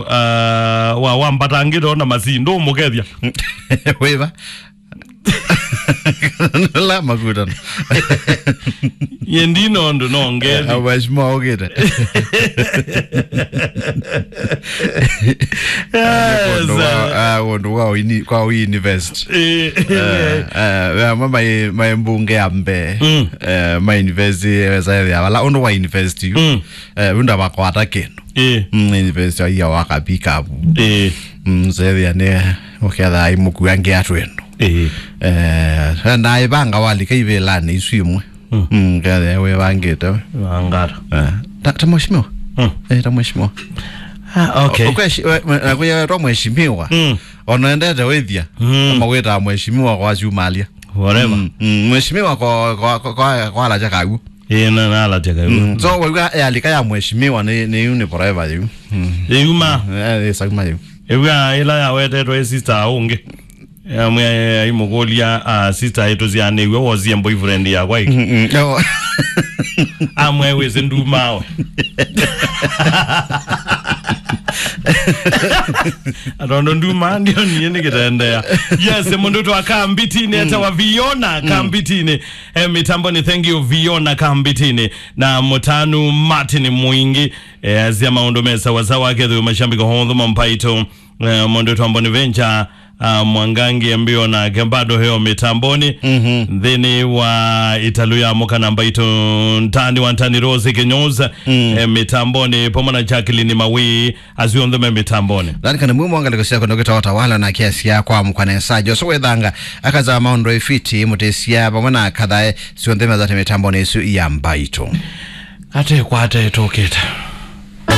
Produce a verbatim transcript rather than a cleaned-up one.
uh, wa, wa mbatangĩto na masindũ ũmũkethya. Wĩva? La makutano. Ye ndino ũndũ no ngethi. Ah, mheshimiwa ũkĩte. Yes, ũndũ wa, uh, ah, ũndũ wa ini-, kwa ũ-invest. Eh, eh, eh, eh, mama ye, ma mbunge ya mbee. Mm. Eh, ma invest, eh, wesa ya wala, ũndũ wa invest yu. Mm. Eh, unda bakwata kĩndũ. Eh. Mm, invest ya waka pick up. Eh. Mm, sethia nĩ ũketha imũkua ngia twendo. Eh. Eh, na ivanga walika ivilani isu imwe. Mm. Mm, kethia wĩvangĩte we. Wangata. Eh. Ta, ta mheshimiwa. Mm. Eh, ta mheshimiwa. Ah, okay. Ukweshi-, we, we, we, we, ta mheshimiwa. Mm. Ona endete wĩthia. Mm. Kama wĩta mheshimiwa kwa siumalia. Whatever. Mm, mm, mheshimiwa kwa, kwa, kwa, kwa, kwa alacha kaguo. Ĩĩ, na, na alacha kaguo. Mm. So, waiwa yalika ya mheshimiwa nĩ, nĩ yu nĩ forever yu. Mm. Ĩyuma. Eh, ĩsauma yu. Ĩw'a ĩla yawetetwe ĩ sister ũngĩ. Amwe aimũkũlya, ah, sister ĩtũ syanĩw'e wosie boyfriend yakwa ĩkĩ. Mm, mm. No. Amwe wĩsĩ ndumawe. Atondo nduma ndio niĩ nĩkĩtendea. Yes, mũndũ twa Kambitini, mm, etawa Viona, mm, Kambitini. Eh, mitamboni, thank you, Viona Kambitini. Na mũtanu Martin Mwingi, eh, azia maũndũ me sawasawa, akethĩwe mashambiko honthe ma Mbaitũ. Eh, mũndũ twa Bonaventure, ah, Mwangangi mbio nake bado heo mitamboni. Mhm. Nthĩnĩ wa italu ya mũka na Mbaitũ ntani wa ntani Rose Kinyoza, mm, eh, mitamboni, pamwe na Jacqueline Mawi, asu onthe me mitamboni. Lani kana mwe mwangalĩko syako ndokita Watawala na kiasi ya kwa mkwanesa. Joso wethanga, akaza maũndũ ifiti, mũtesia, pamwe na kathae, sionthe mezate mitamboni isu ya Mbaitũ. Ate kwate toketa.